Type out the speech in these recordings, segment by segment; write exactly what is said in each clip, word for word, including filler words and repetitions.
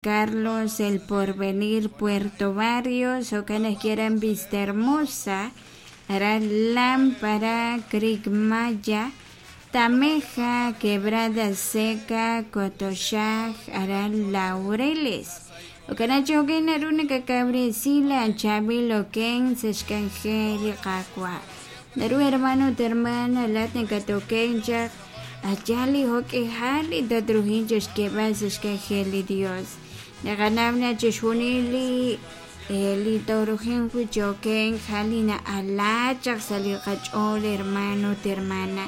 Carlos, El Porvenir, Puerto Barrios, jo'kan ajwi' aran Vista Hermosa, aran Lámpara, Creek Maya, Tameja, Quebrada Seca, Cotoxaj, aran Laureles. Jo'kan chi jo'kan naru nakakawresi laachaab'il okenk sa' xk'anjel li Qaawa'. Naru hermano ut hermana laat nakatokenk chaq a' yaal li jo'k'ihal li tatruhin chixk'eeb'al sa' xk'anjel li Dios. Naqanaw na chixjunil li li toorujin wi' chi okenk ja'al li na'ala chaq sa' li qach'ool hermano ut hermana.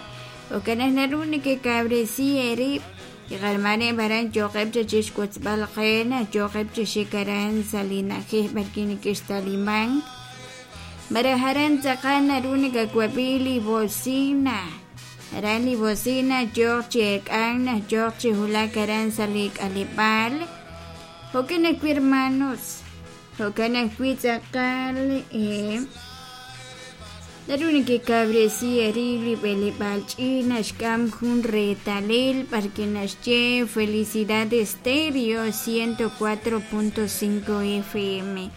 Jo'kan naq naru nekekawresi eerib' li qarmaneb' aran yooqeb' chaq chixwotzb'al qe naq yooqeb' chi xik aran sa' li na'ajej b'arwi' neke'xtalimank. Malaj aran tz'aqal naru nakawab'i li bocina, aran li bocina yooq chi eek'ank naq yooq chi wulak aran sa' li k'aleb'aal. Jo'kan ajwi' hermanos, jo'kan ajwi' tz'aqal eh, naru nekekawresi eerib' li b'eleb'aal ch'iich' naxk'am jun reetalil b'arwi' naxye Felicidad Estéreo ciento cuatro punto cinco F M.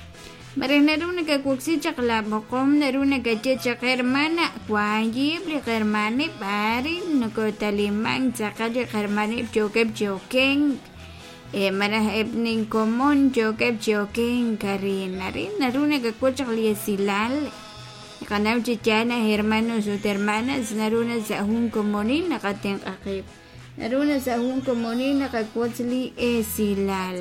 Malaj naru nakawoksi chaq laab'oqom, naru nakaye chaq hermana waayib' li qarmaneb' b'arin nokotalimank tz'aqal li qarmaneb' yookeb' chi okenk, eh, malaj eb' ninkomon yookeb' chi okenk arin arin naru nakawotz chaq li esilal. Naqanaw chi yaal naq hermanos ut hermanas naru na sa' jun komonil naqatenq'a qib', naru na sa' jun komonil naqawotz li esilal.